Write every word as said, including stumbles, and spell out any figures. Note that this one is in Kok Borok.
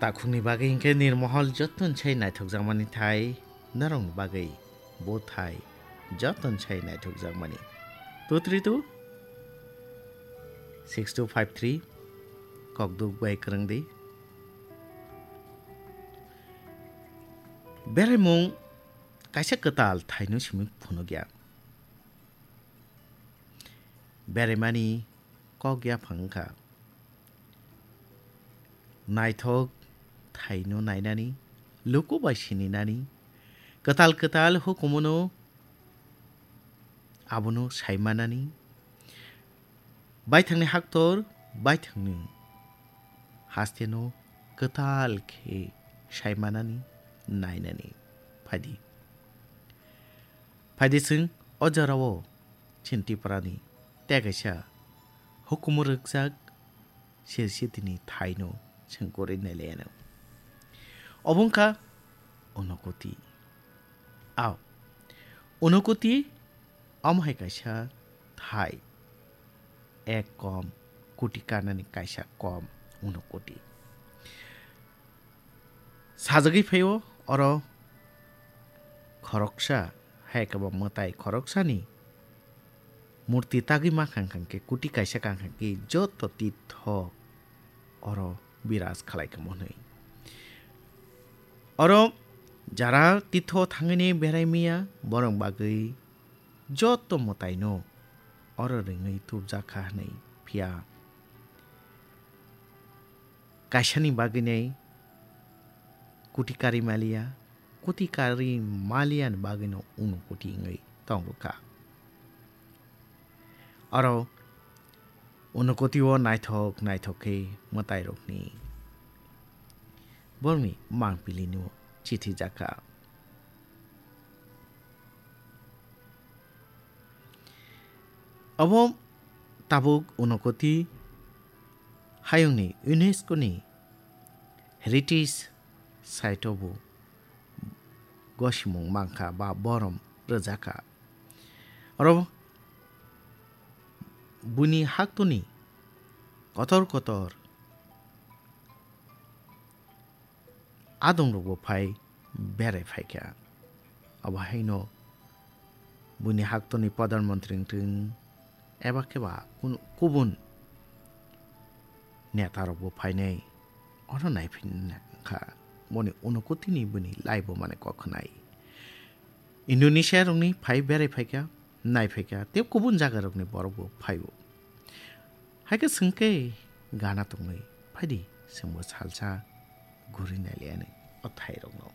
Takhukni bagwi hinkhe nirmohol joto sai naithokjakmani thai, norokni bagwi bo thai joto sai naithokjakmani. Two three two six two five three, kokduk bai kwrwng di. Beraimung kaisa kwtal thaino simi phunukya. Beraimani kok yaphang wngkha. Naithok thaino nainani, luku bai sininani, kwtal kwtal hukumono abono saimanani, baithangni haktor, baithangni hasteno kwtal khe saimanani, nainani. Phaidi. Phaidi chwng o jorao chini Tiprani tei kaisa hukumu rwkjak sir sitini thaino chwng kwrwi nailaiano. Obo wngkha Unokoti. Ao, Unokoti omo hai kaisa thai. Ek kom, koti kanani kaisa kom, Unokoti. Sajagwi phaio oro khoroksa, hai khe bo mwtai khoroksani murti tagwi mankha hwnkhe, kuti kaisa kankha khe joto titho oro biraj khalai kamo hwnwi. Oro jara titho thangwini berai maya, borok bagwi joto mwtaino oro ringwi tubjakha hwnwi, phiya kaisani bagwinai kuti karwi maliya, kuti karwi maliyani bagwino Unokoti wngwi tongrwkha. Oro Unokoti o naithok naithok khe mwtairokni borokni mangpilino chithi jakha. Obo tabuk Unokoti hayungni UNESCO ni Heritage Site o bo gosimung mankha ba borom rwjakha. Oro buini haktoni kotor kotor adongrokbo phai berai phaikha. Abo haino buini haktoni pradhan mantri wngthung eba khe ba kun-, kubun netarokbo phainai oro naiphinna wngkha. Boni Unokotini buini laibo mane kok khnai. Indonesia rokni phai berai phaikha, nai phaikha, tei kubun jaga rokni borokbo phaio. Hai khe chwng khe gana tongwi phaidi, chwngbo salsa guri nailaiani o thairokno.